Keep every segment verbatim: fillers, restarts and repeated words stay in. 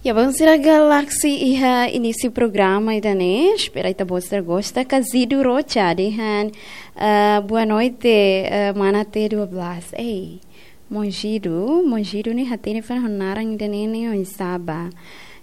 Ya, bainhira Galaxy iha inísiu programa ida-ne'e, espera ita-boot sira gosta, Kazidu Rocha dehan, eh, boa noite, eh, mana T dua belas. Ei, Monjidu, Monjidu ne'e hatene fali ho naran ida-ne'e ne'e oinsá ba.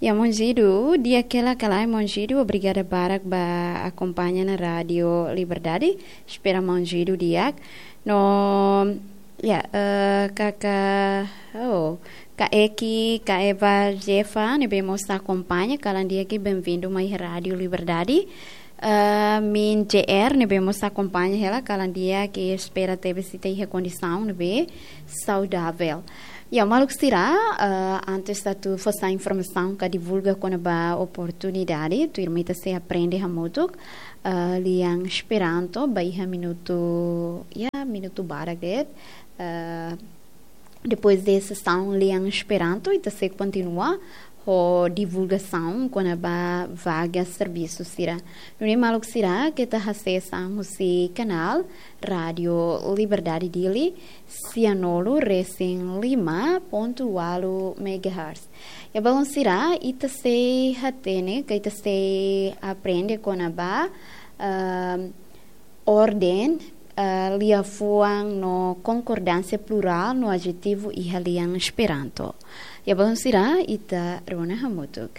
Ya, Monjidu, di'ak hela ka lae Monjidu, obrigada barak ba akompaña ona Rádio Liberdade, espera Monjidu di'ak. No, ya, eh, kaka, oh, Kak Eki, Kak Eva Jefa, ne'ebé mós akompaña, kalan di'ak, benvindu mai Rádio Liberdade. Eh, Min J R, ne'ebé mós akompaña hela, kalan di'ak, espera tebes ita iha kondisaun ne'ebé saudavel. Ya, maluk sira, eh, antes atu fó sai informasaun ka divulga kona-ba oportunidade, tuirmai ita sei aprende hamutuk, eh, lian Esperanto, ba iha minutu, ya, minutu barak de'it, eh, depois de sesaun lian Esperanto, ita sei kontinua ho divulgasaun kona-ba vaga servisu sira. Nune'e maluk sira, keta hasai sasán husi kanál Rádio Liberdade Dili, sianulu resin lima pontu ualu megahertz. Ya, bainhira ita sei hatene, ka ita sei aprende kona-ba, ehm, orden, eh, liafuan no konkordánsia plurál no adjetivu iha lian Esperanto. Ya, bainhira ita rona hamutuk.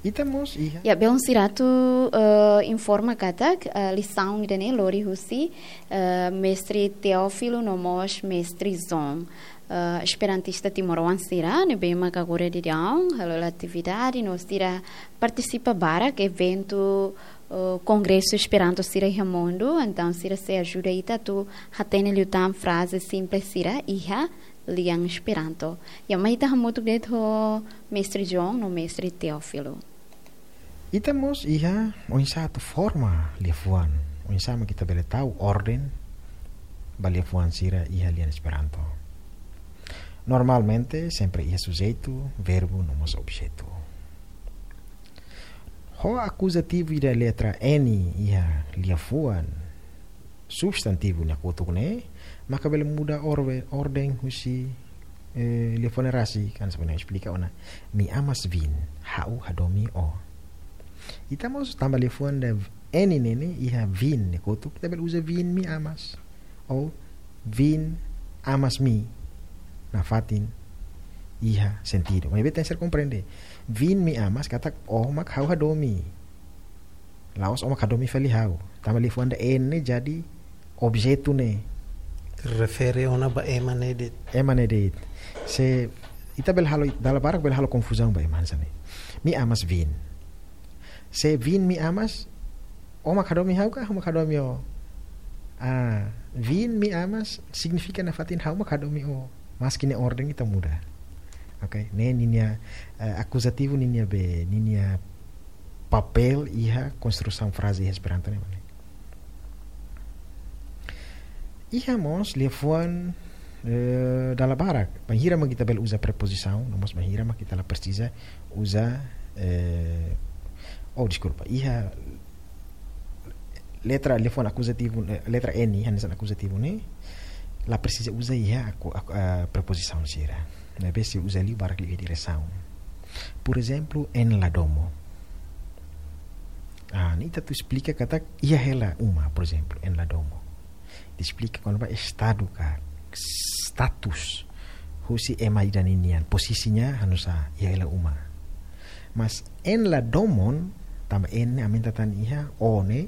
Ita mós iha. Ya, bainhira atu, eh, informa katak, eh, lisaun ida-ne'e lori husi, eh, Mestre Teófilo no mós Mestre João. Eh, esperantista timoroan sira, ne'ebé mak agora daudaun halo atividade, no sira partisipa barak eventu, eh, kongresu Esperanto sira iha mundu, entaun sira sei ajuda ita atu hatene liután fraze simples sira iha lian Esperanto. Ya, mai ita hamutuk de'it ho Mestre João no Mestre Teófilo. Ita mós iha oinsá atu forma liafuan, oinsá mak ita bele tau orden ba liafuan sira iha lian Esperanto. Normalmente, sempre iha sujeitu, verbu, no mós objetu. Ho akuzativu ida letra N iha liafuan substantivu nia kotuk ne'e, maka bele muda orbe-, orden husi, eh, liafuan ne'e rasik, kan sebenarnya esplika ona. Mi amas vin, ha'u hadomi ó. Ita mós tanba liafuan ida N ne'e ne'e iha vin nia kotuk, ita bele uza vin mi amas. Ou vin amas mi. Nafatin iha sentidu. Maibé tenke ser komprende. Vin mi amas katak ó mak ha'u hadomi. La'ós ó mak hadomi fali ha'u. Tanba liafuan ida N ne'e jadi objetu ne'e. Refere ona ba ema ne'e de'it. Ema ne'e de'it. Se ita bele halo, dala barak bele halo konfuzaun ba ema hanesan ne'e. Mi amas vin. Se vin mi amas, ó mak hadomi ha'u ka, ha'u mak hadomi ó? Ah, vin mi amas signifika nafatin ha'u mak hadomi ó. Maski nia orden ita muda. Oke, ne'e ninia, eh, akuzativu ninia be, ninia papél iha konstrusaun fraze iha Esperanto ne'e, mane. Iha mós liafuan, eh, dala barak. Bainhira mak ita bele uza prepozisaun, no mós bainhira mak ita la presiza uza, eh, oh, deskulpa. Iha letra, liafuan akuzativu, eh, letra N, hanesan akuzativu ne'e, la presiza uza iha aku-, aku-, ah, prepozisaun sira. Maibé sei uza liu barak liu iha diresaun. Por ezemplu, en la domo. Ah, ne'e ita atu esplika katak iha hela uma, por ezemplu, en la domo. Ita esplika kona-ba estadu ka status husi ema ida ninian, posisinya hanesan iha hela uma. Mas en la domon, tanba en ne'e aumenta tan iha ó ne'e,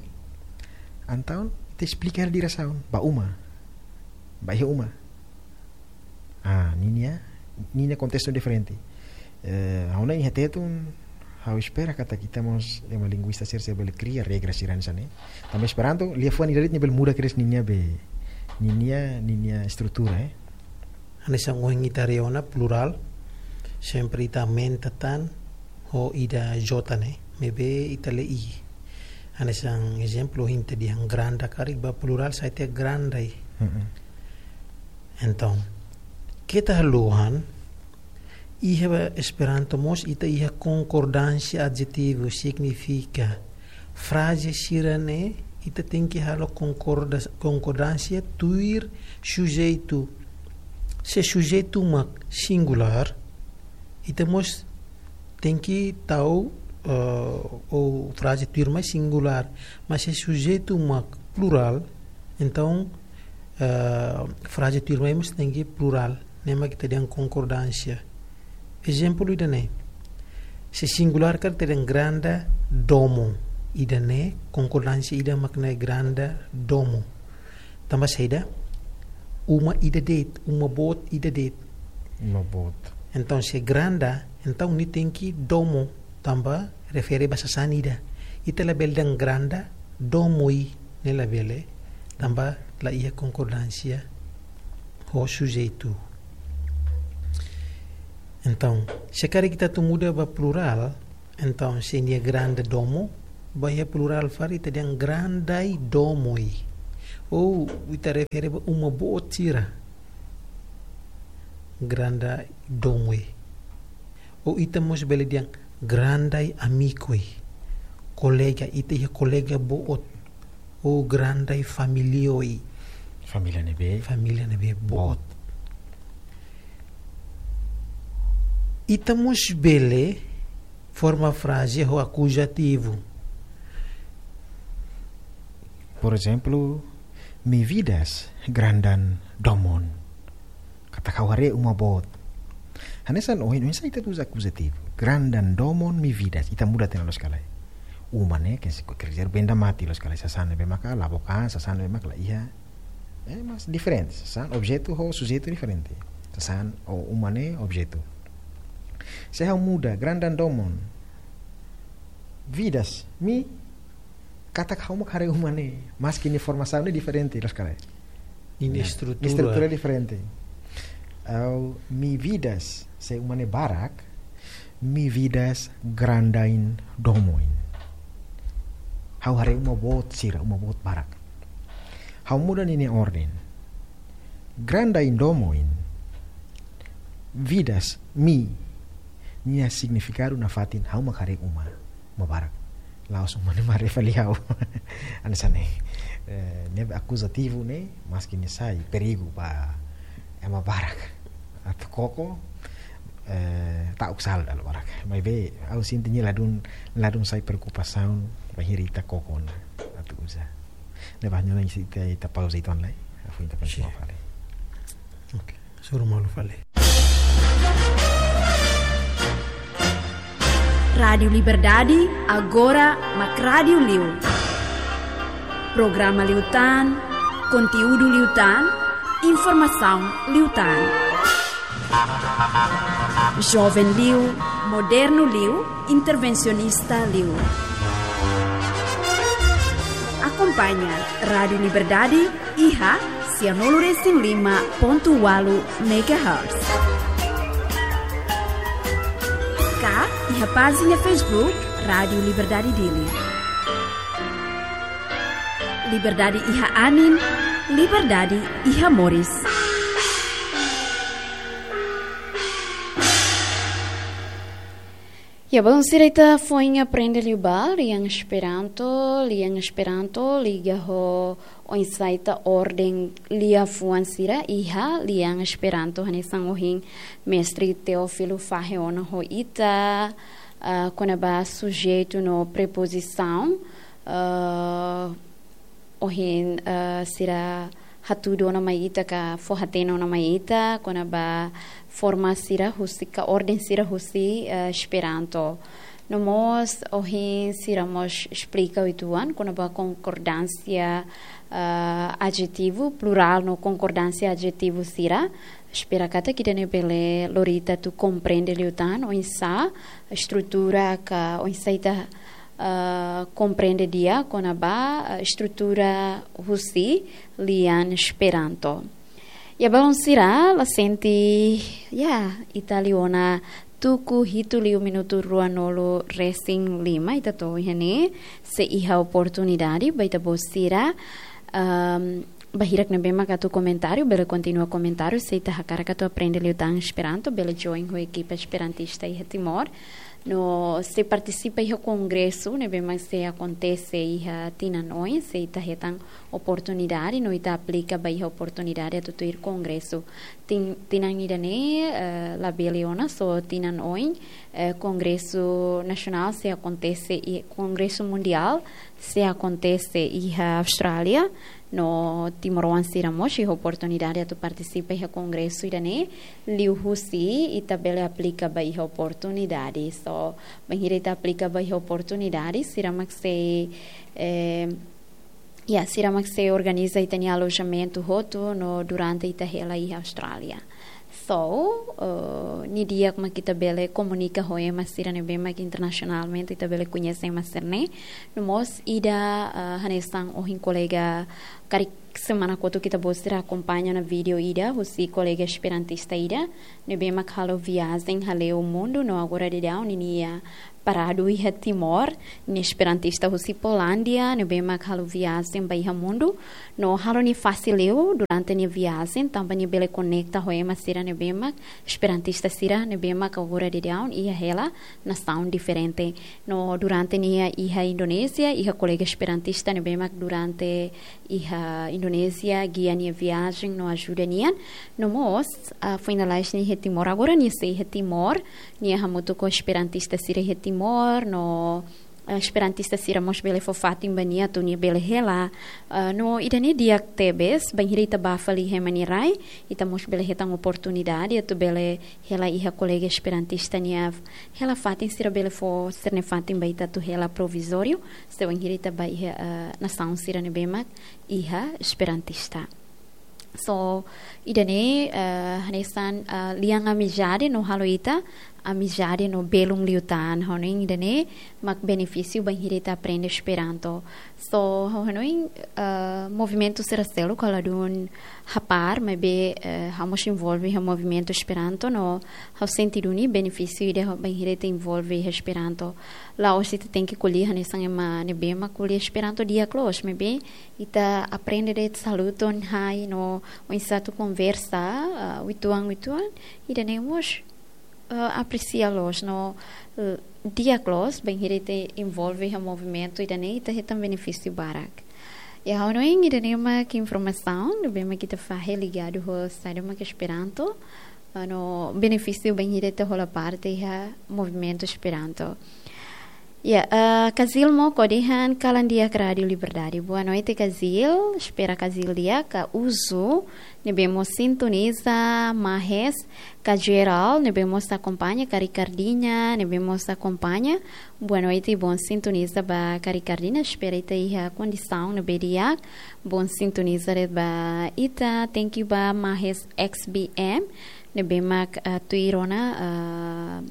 entaun ita esplika hela diresaun, ba uma. Ba iha uma. Ah, ninia, ninia kontestu diferente. Eh, ha'u-nia iha Tetun, ha'u espera katak ita mós ema linguista sira sei bele kria regra sira hanesan ne'e. Tanba Esperanto, liafuan ida de'it nia bele muda kedas ninia be, ninia, ninia estrutura, eh. Hanesan ohin ita haree ona plurál, sempre ita aumenta tan ho ida J ne'e, maibé ita lee I. Hanesan ezemplu, ohin ita dehan granda karik, ba plurál sai tiha grandai. Mm-mm. Entaun, keta haluha, iha Esperanto mós ita iha konkordánsia adjetivu, signifika fraze sira-ne'e ita tenke halo konkorda-, konkordánsia tuir sujeitu. Se sujeitu mak singulár, ita mós tenke tau, eh, ou fraze tuirmai singulár, mas se sujeitu mak plurál, entaun, eh, fraze tuirmai mós tenke plurál, ne'e mak ita dehan konkordánsia. Ezemplu ida-ne'e. Se singulár karik ita dehan granda domo, ida-ne'e konkordánsia ida mak ne'e granda domo. Tanba saida? Uma ida de'it, uma boot ida de'it. Uma boot. Entaun, se granda, entaun nia tenke domo, tanba refere ba sasán ida. Ita labele dehan granda domoi, ne'e labele, tanba la iha konkordánsia ho sujeitu. Entaun, se karik ita atu muda ba plurál, entaun, se nia granda domo, ba iha plurál fali ita dehan grandai domoi. Ou ita refere ba uma boot sira. Grandai domoi. Ou ita mós bele dehan grandai amikoi. Kolega, ita iha kolega boot. Ou grandai familioi. Família ne'ebé. Família ne'ebé boot. Boot. Ita mós bele forma fraze ho akuzativu. Por ezemplu, mi vidas grandan domon. Katak ha'u haree uma boot. Hanesan ohin, oinsá ita uza akuzativu. Grandan domon mi vidas. Ita muda tiha ona loos ka lae. Uma ne'e, ke se, ke se benda mate loos ka lae. Sasán ne'ebé maka la book an, sasán ne'ebé maka la iha. Eh, mas diferente. Sasán, objetu ho sujeitu diferente. Sasán, ou uma ne'e objetu. Se ha'u muda, grandan domon. Vidas, mi, katak ha'u mak haree uma ne'e, maski nia formasaun ne'e diferente, loos ka lae. Nia, nah, estrutura. Estrutura diferente. Ou mi vidas, se uma ne'e barak, mi vidas grandain domoin. Ha'u haree uma boot sira, uma boot barak. Ha'u muda ninia orden. Grandain domoin. Vidas, mi. Nia signifikadu nafatin ha'u mak haree uma. Uma barak. La'ós uma ne'e mak haree fali ha'u. Hanesan ne'e. Eh, ne'e akuzativu ne'e, maski nia sai perigu ba ema barak. Atu koko, eh, ta'uk sala dala barak. Maibé, ha'u sente nia ladún, ladún sai preokupasaun, bainhira ita koko ona. Atu uza. Ne'ebé ha'u hanoin ita, ita pauza uitoan lai. Hafoin ita kontinua fali. Oke, hasoru malu fali. Rádiu Liberdade, agora mak rádiu liu. Programa liután, konteúdu liután, informasaun liután. Joven liu, modernu liu, intervensionista liu. Akompaña Rádiu Liberdade iha sianulu resin lima pontu ualu megahertz. Ka iha pájina Facebook Rádiu Liberdade Dili. Liberdade iha anin, liberdade iha moris. Ya, balun sira, ita foin aprende liu ba lian Esperanto, lian Esperanto liga ho oinsá ita orden liafuan sira iha lian Esperanto, hanesan ohin mestre Teófilo fahe ona ho ita, ah, kona-ba sujeitu no prepozisaun, ah, ohin, eh, sira hatudu ona mai ita ka fó-hatene ona mai ita kona-ba forma sira husi ka orden sira husi, eh, Esperanto. No mós ohin sira mós esplika uitoan kona-ba konkordánsia, eh, adjetivu, plurál no konkordánsia adjetivu sira. Espera katak ida-ne'e bele lori ita atu komprende liután oinsá estrutura ka oinsá ita, eh, komprende di'ak kona-ba, eh, estrutura husi lian Esperanto. Ya, balun sira, la sente, ya, ita liu ona tuku hitu liu minutu ruanulu resin lima, ita to'o iha ne'e, se iha oportunidade ba ita-boot sira, ehm, ba hirak ne'ebé mak atu komentáriu, bele kontinua komentáriu, se ita hakarak atu aprende liután Esperanto, bele join ho ekipa esperantista iha Timor. No sei partisipa iha kongresu ne'ebé mak sei akontese iha tinan oin, sei ita hetan oportunidade no ita aplika ba iha oportunidade atu tuir kongresu. Tin-, tinan ida-ne'e, eh, labele ona, só tinan oin, eh, kongresu nasionál sei akontese i kongresu mundiál sei akontese iha Austrália, no timoroan sira mós iha oportunidade atu partisipa iha kongresu ida-ne'e, liuhusi ita bele aplika ba iha oportunidade. Só bainhira ita aplika ba iha oportunidade, sira mak sei, eh, ya, sira mak sei organiza ita-nia alojamentu hotu no durante ita hela iha Austrália. So, eh, ne'e di'ak mak ita bele komunika ho ema sira ne'ebé mak internasionalmente ita bele koñese ema sira-ne'e. No mós ida, eh, hanesan ohin kolega karik semana kotuk ita-boot sira akompaña ona vídeo ida husi kolega esperantista ida ne'ebé mak halo viajen haleu mundu no agora daudaun ninia paradu iha Timor, nia esperantista husi Polándia, ne'ebé mak halo viajen ba iha mundu, no halo nia fasil liu durante nia viajen, tanba nia bele konekta ho ema sira ne'ebé mak esperantista sira ne'ebé mak agora daudaun iha hela nasaun diferente. No durante nia iha Indonézia, iha kolega esperantista ne'ebé mak durante iha Indonézia gia nia viajen no ajuda nia. No mós, ah, foin lalais nia iha Timor, agora nia sei iha Timor, nia hamutuk ho esperantista sira iha Timor, no, eh, esperantista sira mós bele fó fatin ba nia atu nia bele hela. Ah, no ida-ne'e di'ak tebes, bainhira ita bá fali iha ema nia rai, ita mós bele hetan oportunidade atu bele hela iha kolega esperantista nia hela fatin, sira bele fó sira-nia fatin ba ita atu hela provizóriu, se bainhira ita bá iha, eh, nasaun sira ne'ebé mak iha esperantista. So, ida-ne'e, eh, hanesan, eh, lian amizade no halo ita amizade no belun liután, ha'u hanoin ida-ne'e mak benefísiu bainhira ita aprende Esperanto. So, ha'u hanoin, eh, movimentu sira seluk ha'u ladún hapár, maibé, eh, ha'u mós envolve iha movimentu Esperanto no ha'u sente duni benefísiu ida bainhira ita envolve iha Esperanto. La'ós ita tenke ko'alia hanesan ema ne'ebé mak ko'alia Esperanto di'ak loos, maibé ita aprende de'it saluton, hai no oinsá atu konversa, ah, uitoan, uitoan, ida-ne'e mós, ah, apresia loos no, eh, di'ak loos, bainhira ita envolve iha movimentu ida-ne'e, ita hetan benefísiu barak. Ya, ha'u hanoin ida-ne'e mak informasaun ne'ebé mak ita fahe ligadu ho saida mak Esperanto, ah, no benefísiu bainhira ita hola parte iha movimentu Esperanto. Ya, eh, Kazil Moko dehan kalan di'ak Rádio Liberdade. Boa noite, Kazil. Espera Kazil di'ak, ka Uzu ne'ebé mós sintoniza, Mahes, ka Geral ne'ebé mós akompaña, ka Ricardinha ne'ebé mós akompaña. Boa noite, bom sintoniza ba ka Ricardinha. Espera ita iha kondisaun ne'ebé di'ak, bom sintoniza de'it ba ita. Thank you ba Mahes X B M ne'ebé mak, eh, tuir ona, eh,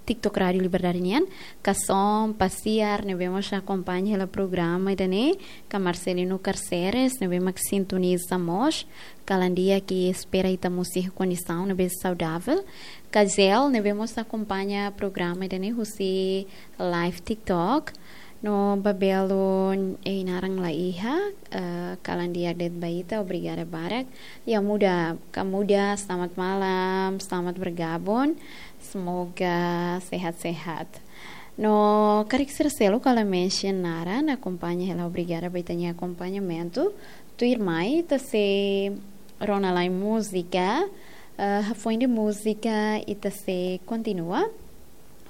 TikTok Rádio Liberdade nian, ka Som Pasiar ne'ebé mós akompaña hela programa ida-ne'e, ka Marcelino Carceres ne'ebé mak sintoniza mós, kalan di'ak, espera ita mós iha kondisaun ne'ebé saudavel, ka Zel ne'ebé mós akompaña programa ida-ne'e husi live TikTok, no ba belun ei naran la iha, eh, kalan di'ak de'it ba ita, obrigada barak. Ya Muda, ka Muda, selamat malam, selamat bergabung. Semoga sehat-sehat. No karik sira seluk ha'u la mention naran, akompaña hela, obrigada ba ita-nia akompañamentu. Tuirmai ita sei rona lai múzika, eh, hafoin de múzika ita sei kontinua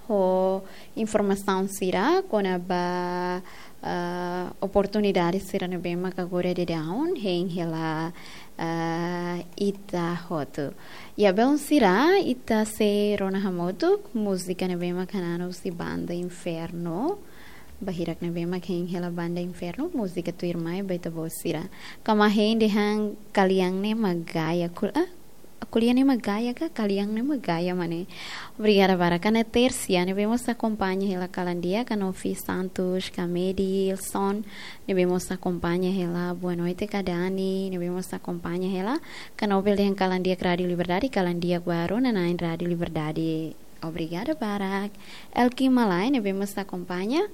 ho informasaun sira kona-ba, ah, oportunidade sira ne'ebé mak agora daudaun hein hela, ah, ita hotu. Ya, belun sira, ita sei rona hamutuk múzika ne'ebé mak hananu husi Banda Inferno. Ba hirak ne'ebé mak hein hela Banda Inferno, múzika tuirmai ba ita-boot sira. Kama hein dehan kalian ne'e mak gaya, kul-, ah, ko'alia ne'e mak gaya ka, kalian ne'e mak gaya, mane. Obrigada barak. Ka Ana Tércia ne'ebé mós akompaña hela kalan di'ak, ka Novi Santos, ka Medilson ne'ebé mós akompaña hela, boa noite, ka Dani ne'ebé mós akompaña hela, ka Nobel dehan kalan di'ak Rádio Liberdade, kalan di'ak ba rona-na'in Rádio Liberdade. Obrigada barak. Elki Malai ne'ebé mós akompaña,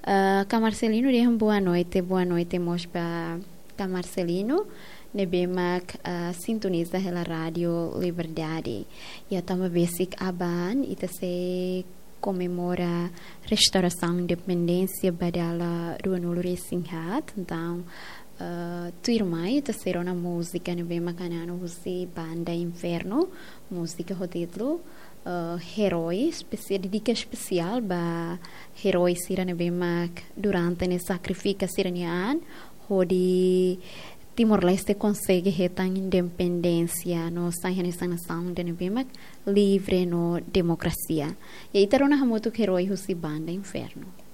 eh, ka Marcelino dehan boa noite, boa noite mós ba ka Marcelino ne'ebé mak, ah, sintoniza hela Rádio Liberdade. Ya, tanba besik aban ita sei komemora restaurasaun independénsia ba dala rua-nulu resin haat. Entaun, eh, tuirmai ita sei rona múzika ne'ebé mak hananu husi Banda Inferno, múzika ho títulu, eh, Herói, espesia-, dedika espesiál ba herói sira ne'ebé mak durante ne'e sakrifika sira-nia an hodi Timor-Leste konsege hetan independénsia no sai hanesan nasaun ida ne'ebé mak livre no demokrasia. I ita rona hamutuk Herói husi Banda Inferno.